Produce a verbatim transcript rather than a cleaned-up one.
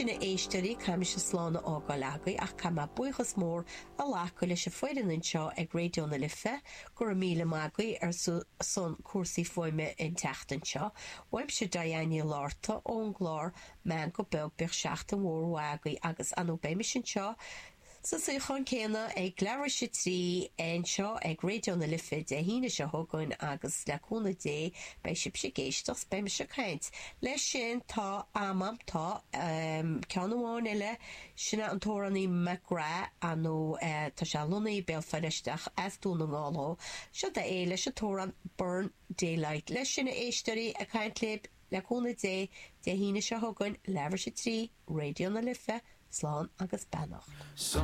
sin a éisteoirí caithfidh mise slán a fhágáil agaibh ach caithfidh mé buíochas mór a ghlacadh leis an foireann anseo ag Raidió na Life go raibh míle maith agaibh ar son cúrsaí fuaime an tseachtain seo. Uaimse Diane Ní Lárta ón gclár Meangadh Beag bíodh seachtain mhór mhaith agaibh agus anú beidh anseo sa suíochán céanna ag leathuair tar éis a trí anseo ag Raidió na Life Dé hAoine seo chugainn agus le cúnamh Dé beidh sibh ag éisteacht beidh mise ag caint. Leis sin tá amam tá um, ceann amháin eile sin an t-amhránaí McGrath anú uh, tá sé lonnaithe Béal Feirste ach as Dún na nGall seo é leis an t-amhrán Burn Daylight. Leis sin a éisteoirí ag caint libh le cúnamh Dé Dé hAoine seo chugainn leathuair tar éis a trí Raidió na Life, slán agus beannacht.